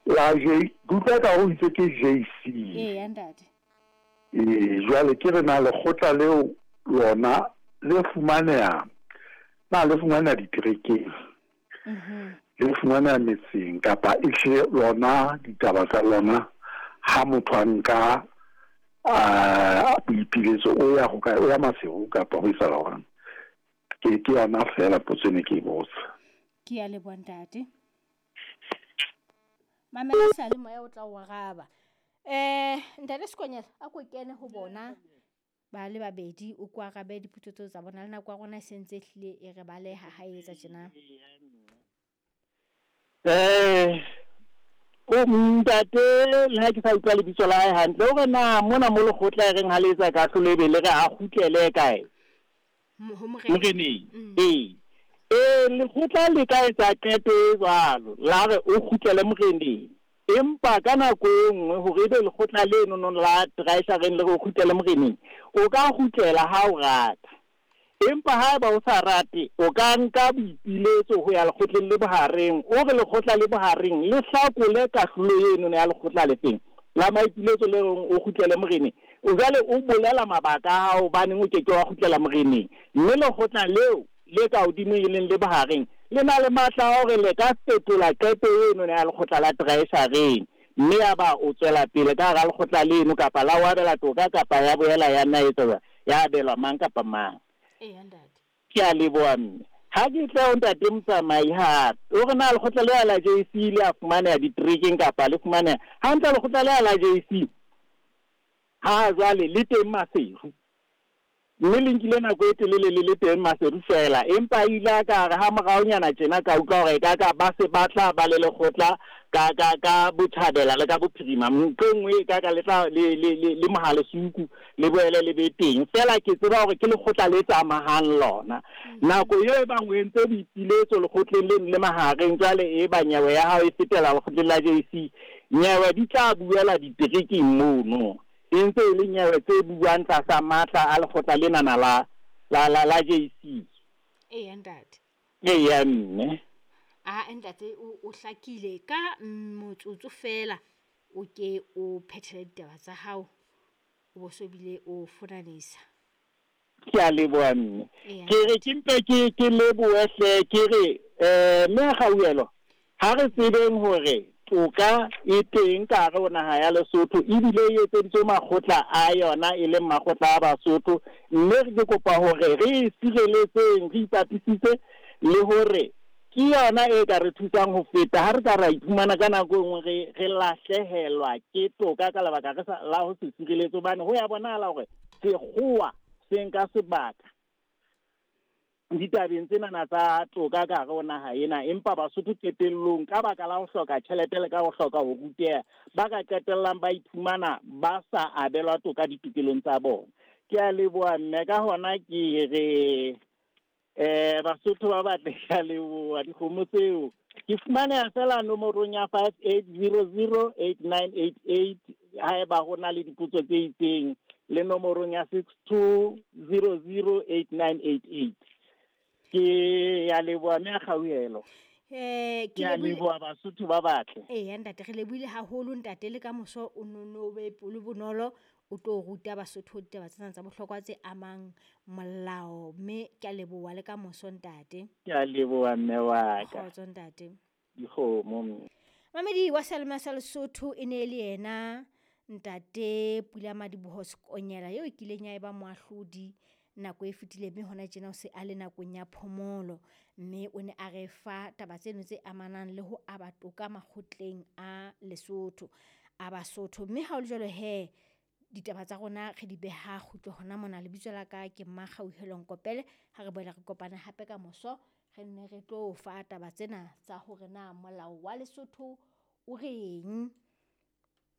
La J, ke utlwa eka o itse ke JC. Eya ntate. Ee, jwale ke re na lekgotla leo lona le fumaneha, na le fumaneha diterekeng, le fumaneha metseng, kapa ehlile lona ditaba tsa lona ha motho a nka boipiletso o ya hokae, o ya Maseru kapa ho etsahala jwang? Ke ke yona feela potso e ne ke e botsa. Ke ya leboha ntate. Mamela seyalemoya o tla o araba. Ntate Sekonyela a ko kene ho bona ba le babedi o ko arabe dipotso tseo tsa bona. Le nako ya rona e sentse ehlile e re baleha ha e etsa tjena. O ntate le ha ke sa utlwa lebitso la hae hantle, o re na mona mo lekgotla e reng ha le etsa kahlolo ebe le re a kgutlele kae? Ho morena. Moreneng. Ee. Ee, lekgotla le ka etsa qeto e jwalo, la re o kgutlele moreneng. Empa ka nako e nngwe hore ebe lekgotla leno no la treasureng le re o kgutlele moreneng, o ka kgutlela ha o rata. Empa haeba o sa rate, o ka nka boipiletso ho ya lekgotleng le bohareng, o re lekgotla le bohareng le hlakole kahlolo eno ya lekgotla le feng la maipiletso le reng o kgutlele moreneng. O jwale o bolela mabaka a hao hobaneng o ke ke wa kgutlela moreneng, mme lekgotla leo le ka hodimo e leng le bohareng le na le matla a hore le ka fetola qeto eno ya lekgotla la treasureng, mme ya ba o tswela pele ka hara lekgotla leno kapa la o abela toka kapa ya boela ya nna etsa jwang, ya abelwa mang kapa mang. Eya ntate. Ke a leboha mme. Ha ke tle ho ntate Motsamai hape, o re na lekgotla lea la JC le a fumaneha diterekeng kapa le fumaneha hantle? Lekgotla lea la JC ha jwale le teng Maseru, mme le nkile nako e telele le le teng Maseru feela, empa ile a ka re ha moraonyana tjena ka utlwa hore ka ka ba se ba tla ba le lekgotla ka ka ka botjhabela le ka bophirima, nqe nngwe e ka ka le tla le le le le Mohalesuku le boele le be teng. Feela ke tseba hore ke lekgotla le tsamahang lona. Nako eo e bang o entse boipiletso lekgotleng leno le mahareng, jwale e ba nyewe ya hao e fetela lekgotleng la JC, nyewe di tla buela diterekeng mono. E ntse e le nyewe tse buang tlasa matla a lekgotla lenana la la la la JC. Eya ntate. Eya mme. A ntate o hlakile ka motsotso feela o ke o phethele ditaba tsa hao, o bo so bile o fonanisa. Ke a leboha mme. Eya. Ke re ke mpe ke ke lebohe hle, ke re mme Kgauhelo, ha re tsebeng hore toka e teng ka hare ho naha ya Lesotho, ebile e etseditswe makgotla a yona e leng makgotla a Basotho, mme ke kopa hore re e sireletseng, re ipapisitse le hore ke yona e ka re thusang ho feta ha re ka ra iphumana ka nako e nngwe re re lahlehelwa ke toka ka lebaka re sa la ho se sireletse, hobane ho ya bonahala hore sekgowa se nka sebaka ditabeng tsenana tsa toka ka hare ho naha ena, empa Basotho qetellong ka baka la ho hloka tjhelete le ka ho hloka ho ruteha, ba ka qetellang ba iphumana ba sa abelwa toka ditokelong tsa bona. Ke a leboha mme, ka hona ke re Basotho ba batle, ke a leboha dikgomo tseo. Ke fumaneha feela nomorong ya 58008988 haeba ho na le dipotso tse itseng, le nomorong ya 62008988. Ke ya leboha mme a Kgauhelo. Ke Ke a lebohile leboha Basotho ba batle. Eya ntate, re lebohile haholo ntate, le ka moso o nono be pelo bonolo o tlo ruta Basotho ditaba tsena tsa bohlokwa tse amang molao, mme ke a leboha le ka moso ntate. Ke a leboha mme wa ka. Kgotso ntate. Dikgomo mme. Mamedi wa Seyalemoya sa Lesotho e ne e le yena ntate Pula Madiboho Sekonyela eo e kileng ya eba moahlodi nako e fetileng, mme hona tjena o se a le nakong ya phomolo, mme o ne a re fa taba tseno tse amanang le ho aba toka makgotleng a Lesotho a Basotho. Mme ha o le jwalo he, ditaba tsa rona re di beha kgutlo hona mona. Lebitso la ka ke Mmakgauhelo Nkopele. Ha re boela re kopana hape ka moso, re nne re tlo fa taba tsena tsa hore na molao wa Lesotho o reng.